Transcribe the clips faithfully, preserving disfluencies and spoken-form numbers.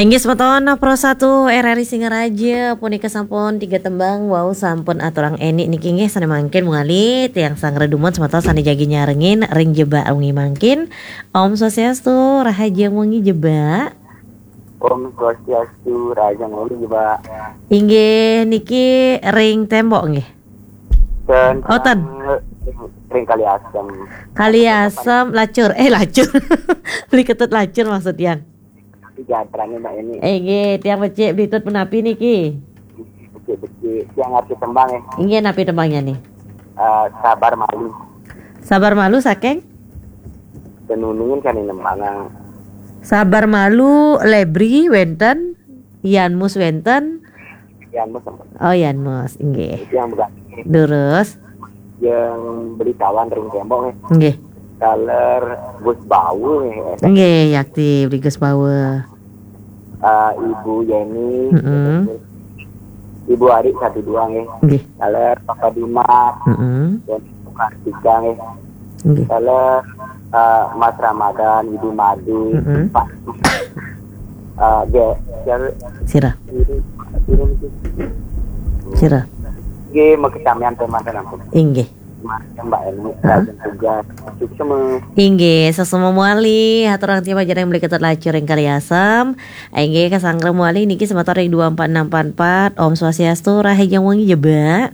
Inggih semeton Pro satu R R I Singaraja, punika sampun tiga tembang wau sampun aturang Eni niki, inggih sane mangkin mawali tiang sanggra dumun semeton sane jagi nyarengin ring jebak wengi mangkin. Om Swastiastu, rahajeng wengi jebak. Om Swastiastu, rahajeng wengi jebak. Inggih niki ring tembok nggih. Ten, Oh, ten. Ring, ring Kali Asem. Kali Asem, Lacur. Eh, Lacur. Beli Ketut Lacur maksud tiang. Tapi jadrane Mbak Eni. Eh, nggih, tiang becik Beli Tut punapi niki? Becik-becik. Tiang ngarti tembang, eh. Inggih, napi tembangnya nih? Eh, Sabar Malu. Sabar Malu saking? Tenunungin kan ini tembang. Sabar Malu, Lebri wenten, Yanmus wenten. Yanmus. Oh, Yanmus, inggih. Itu yang bukan. Durus. Yang Beli Tawan ring tembok, eh. Inggih. Taler Gus Bawu, eh. Inggih, yakti Beli Gus Bawu. Eh, Ibu Yeni, Mm-mm. Ibu Ari satu dua, eh. Inggih. Taler Papa Dimas, Mm-mm. dan Kartika, eh. Inggih. Taler, eh, Mas Ramadan, Ibu Made, Mm-mm. Pak. Eh, ge, ge, Sira. Sira. Ge, mau kesamian teman-teman. Inggih. Mbak Eni, Ah. Raja Tugas, suksma. Inggih, suksma mawali, aturang tiang pajareng Beli Ketut Lacur ring Kali Asem. Inggih, kasanggra mawali niki semeton ring dua empat enam empat empat. Om Swastiastu, rahajeng wengi jebak.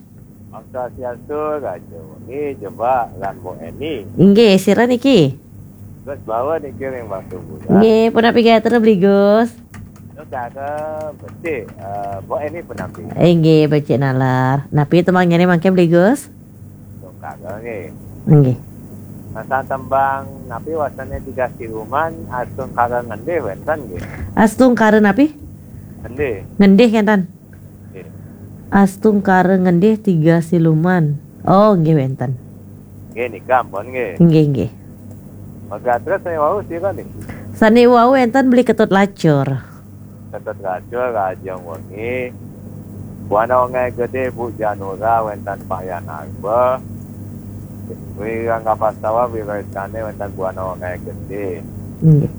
Om Swastiastu, rahajeng wengi jebak, lan Mbok Eni. Inggih, sira niki? Gus Bawa niki ring Batu Bulan. Nggih, punapi gatra Beli Gus? Gus gatra becik, eh, Mbok Eni punapi? Inggih, becik nalar. Napi tembangnya nih mangke Beli Gus? Tungkara nggih. Nggih. Masa tembang napi wastane Tiga Siluman, Astungkara Ngendih wenten nggih. Astungkara napi? Ngendih. Ngendih kenten. Nggih. Astungkara Ngendih Tiga Siluman. Oh, nggih wenten. Nggih, nika ampun nggih. Nggih, nggih. Maka terus sane wau sira niki? Sane wau wenten Beli Ketut Lacur. Ketut Lacur, rahajeng wengi. Buana Wengahe Gede, Bu Janura, wenten Pak Yan Arba. Wirang Kapastawa, Wira Istane, wenten Buana Wengahe Gede. Nggih.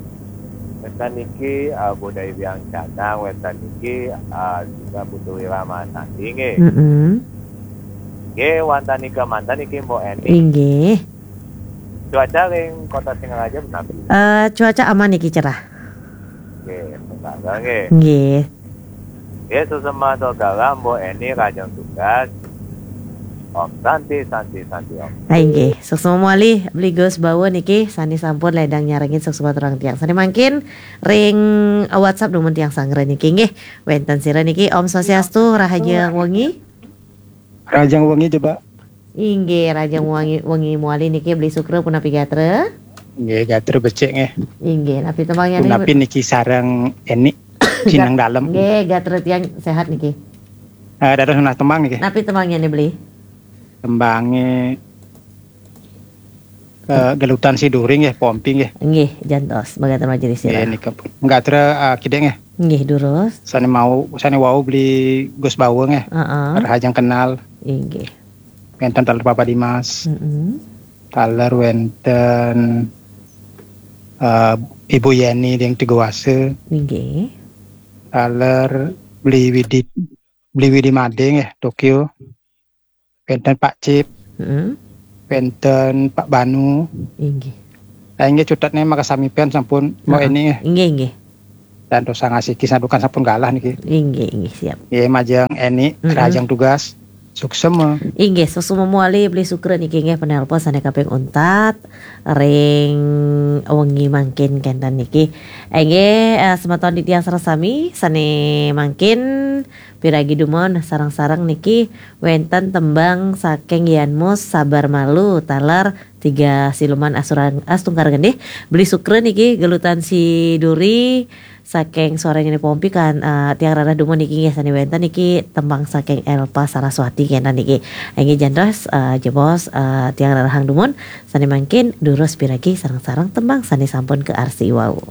Wenten niki, eh, Bu Dai Wiang Canang, wenten niki, eh, juga Putu Wira Manadi nggih. Mm-mm. Nggih, wantah nika manten niki Mbok Eni. Inggih. Cuaca ring Kota Singaraja punapi? Eh, cuaca aman niki, cerah. Nggih, semoga nggih. Nggih. Nggih, suksma Saudara, Mbok Eni rahajeng tugas. Om Santi, Santi, Santi, Om. Hai, nggih. Suksma mawali, Beli Gus Bawa niki sane sampun ledang nyarengin suksma aturang tiang. Sane mangkin ring WhatsApp dumun tiang sanggra niki, nggih. Wenten sira niki, Om Swastiastu, rahajeng wengi. Rahajeng wengi, jebak. Inggih, rahajeng wengi, wengi mawali niki Beli Sukra punapi gatra? Nggih, gatra becik nggih. Inggih, napi tembangnya nih? Punapi niki sareng Eni, Cinang Gat-, Dalem. Nggih, gatra tiang sehat niki. Eh, dados nunas tembang niki. Napi tembangnya nih, Beli? Tembangnya, eh, Gelutan Siduri nggih, Pompi nggih. Nggih, jantos, mekaten majelis sira. Nggih, nika. Gatra, eh, kidek nggih. Nggih, durus. Sane mau, sane wau Beli Gus Bawa nggih. Heeh. Rahajeng kenal. Inggih. Wenten taler Papa Dimas. Mm-mm. Taler wenten, eh, Ibu Yeni ring Tigawasa. Inggih. Taler Beli Widi, Beli Widi Made nggih, Tokyo. Wenten Pak Cip. Mm-mm. Wenten Pak Banu. Inggih. Lah, inggih cutetne makasami pen sampun Mbok Heeh. Eni nggih. Inggih, inggih. Dan dosa ngasiki santukan sampun galah niki. Inggih, inggih, siap. Nggih, majeng Eni, Mm-mm. rahajeng tugas. Suksma. Inggih, suksma mawali Beli Sukra niki nggih penelpon sane kaping untat ring wengi mangkin kenten niki. Inggih, eh, semeton titiang sareng sami sane mangkin piragi dumun sareng-sareng niki wenten tembang saking Yanmus Sabar Malu taler Tiga Siluman Asturang-, Astungkara Ngendih, Beli Sukra niki Gelutan Siduri, saking suaranya ni Pompi kan, eh, tiang rarah dumun niki nggih sane wenten niki tembang saking Elpa Saraswati kenten niki. Inggih jantos, eh, jebos, eh, tiang rarahang dumun sane mangkin durus piragi sareng-sareng tembang sane sampun kaarsi wau.